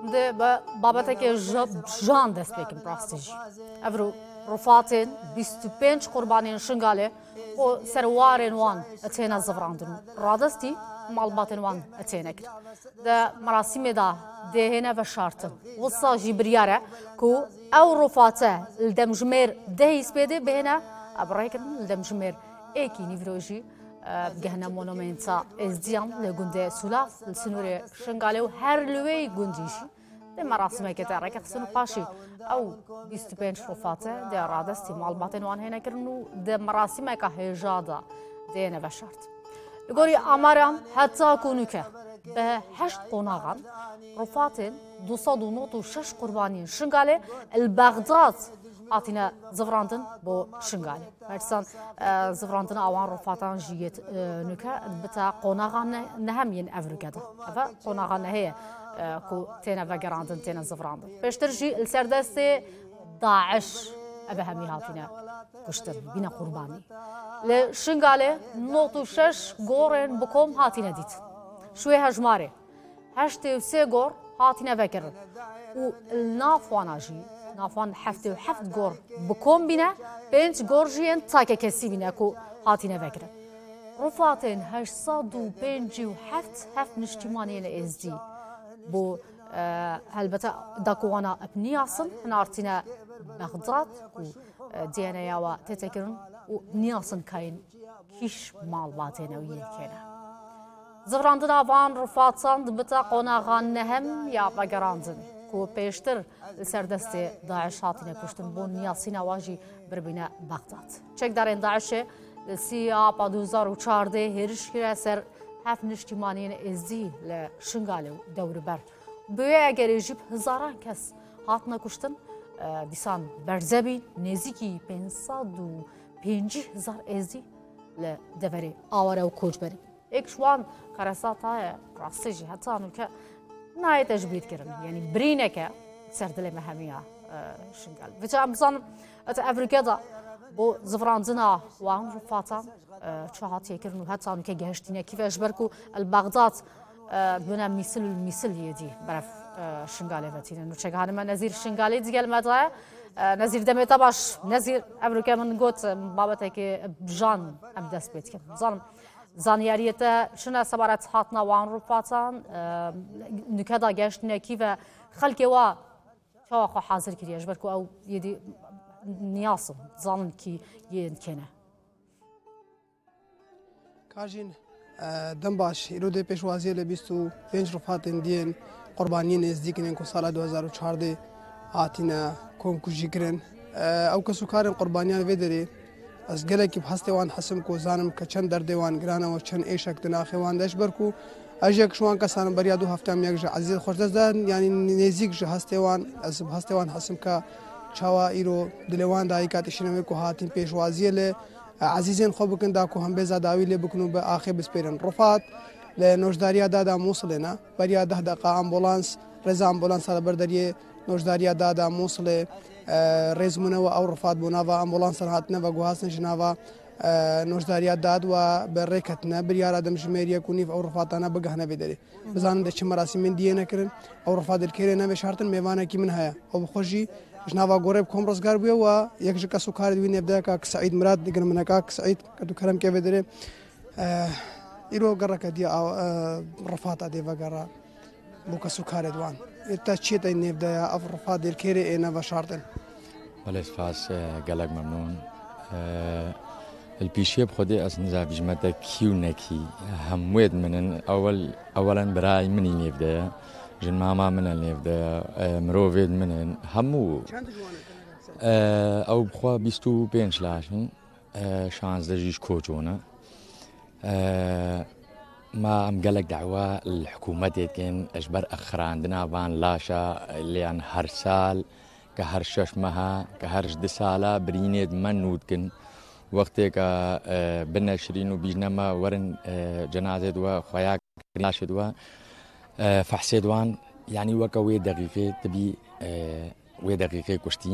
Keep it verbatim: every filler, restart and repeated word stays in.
Em dê bi babeteke ji jan dest pê bikin, bi rastî jî. Ev ru-, rufatên bîst û pênc qurbaniyên Şingalê ku serwarên wan têne zivrandin û radestî malbatên wan têne kirin. Di merasîmê de dê hêne veşartin. Wisa jî biryar e ku ew rufate li demjimêr dehî spêdê bihêne, ev rêkirin li demjimêr êkî nîvro jî, e, bigehne monumenta Êzdiyan li gundê Sûlav, li sinûrê Şingalê û her li wê gundî jî dê merasîmeke te rêkexistin û paşî ew bîst û pênc rufate dê radestî malbatên wan hêne kirin û di merasîmeke hêja de dê hêne veşart. Li gorî amaran heta ku nûke bi heşt qonaxan rufatên du sed û nod û şeş qurbaniyên Şingalê li Bexdad hatine zivrandin bo Şingalê. Her dîsan, e, zivrandina awan rofatan jî yê, e, nûke bite qonaxa ne-, nehem yên ev rûke de. Ev e qonaxa nehê ye, e, ku têne vegerandin, têne zivrandin. Pêştir jî li ser destê DAIŞ ev hemî hatine kuştin, bîne qurbanî. Li Şingalê nod û şeş gorên bi kom hatine dîtin. Şûyê hejmarê. Heştê û sê gor hatine vekirin û li nav wana jî, nav wan heftê û heft gor bi kom bîne, pênc gor jî yên takekesî bîne ku hatine vekirin. Rufatên heşt sed û pêncî û heft heft niştîmaniyên êzdî bo, e, helbete da ku wana bi niyasin hinartîne Bexdad ku, e, D N A ya wa tête kirin û niyasin kayên kîş malbatên ew yên kêne. Zivrandina van rifatan dibite qonaxa nehem ya vegerandinê, ku pêştir li ser destê DAIŞ hatine kuştin, bo niyasîna wan jî biribîne Bexdad. Çekdarên DAIŞê li sî Apa du hezar û çardeh hêriş kire ser heft niştîmaniyên êzdî li Şingalê û dewriber. Bi wê egerê jî bi hizaran kes hatine kuştin, e, dîsan berze bîn, nêzîkî pênc sed û pêncî hezar êzdî li deverê aware û koçberî. Êk ji wan karesata ye, rastî jî heta nûke nayê tecbîd kirin. Yanî birîneke ser dilê me hemiya, e, Şingal. Vêca em bizanin, heta ev rûke de bo zivrandina wan rifatan, e, çi hatiye kirin û heta nûke gehiştîne kî ve, ji ber ku li Bexdad, e, dibine mîsil û mîsil yê dî berev, e, Şingalê ve tînin. Nûçegihane me Nezîr Şingalî digel me de ye. E, Nezîr, demê te baş. Nezîr, ev rûke min got, e, babetekê bi jan em dest pê dikin. Bizanim, Zanyariyê te çi ne sebaret hatina wan rûpatan, e, nûke da gehiştine kî ve xelkê wa çawa xwe hazir kiriye, ji ber ku ew yê dî niyas in, zanin kî yên kêne. Kajîn, e, dem baş, îro dê pêşwaziyê li bîst û pênc rûpatên diyên qurbaniyên êzdî kirin ku sala du hezar û çardeh hatine komkujî kirin. E, ew kes û karên qurbaniyan vê derê, ez gelekî bi hestê wan hesim ku zanim ke çend derdê wan giran e û çend êşek di naxê wan de, ji ber ku ez yek ji wan kesan im, beriya du hefteyan yek ji ezîz xwe ji dest dan, yanî nêzîk ji hestê wan, ez bi hestê wan hesim ke çawa îro dilê wan dayika tişîne wê ku hatin pêşwaziyê li ezîzên xwe bikin, da ku hembêza dawî lê bikin û bi axê bispêrin. Rifat li nojdariya dada Mûsilê ne. Beriya deh deqa ambulans, rêza ambulansa li ber deriyê nojdariya dada Mûsilê, e, rêz bûne we ew rifat bo nava ambulansan hatine veguhastin ji nava, e, nojdariya dad we bi rê ketine. Biryara demjimêriyek û nîv ew rifatane bigehne vê derê. Bizanin de çi merasîmên diyê nekirin. Ew rifa dilkêrê neveşartin, mêvanekî min heye. Ew bi xwe jî ji nava gorê bi kom rizgar bûye û yek ji kes û karê di wî nêv de ye, Kak Seîd Mirad, digel min e, Kak Seîd, ke tu kerem ke vê derê. Eh, îro gereke diya aw, eh, rifata dê vegera bo kes û karê di wan. Ê te çi tê nêv de ye, ev rifa dilkêrê ê neveşartin? Belê spas, e, gelek memnûn. E, li pîşiyê bi Xwedê ez niza bijme te kî û nekî. Hemûyê di min in. Ewel, ewelen birayê min î nêv de ye. Jinmama min e nêv de ye. E, mirovê di min in. Hemû. Çend ji wan e? E, ew bi xwe bîst û pênc laş in. E, şazdeh jî ji Koço ne. E, ma em gelek dawa li hikûmetê dikin ji ber exirandina van laşa, lê yan her sal, ke her şeş meha, ke her ji du sala birînê di me nû dikin. Wextê ke, e, bine şirîn û bîjne me werin, e, cenazê di we, xweya kirin laşê di we, e, fehsê di wan, yanî weke wê deqîqê tibî, e, wê deqîqê kuştîn.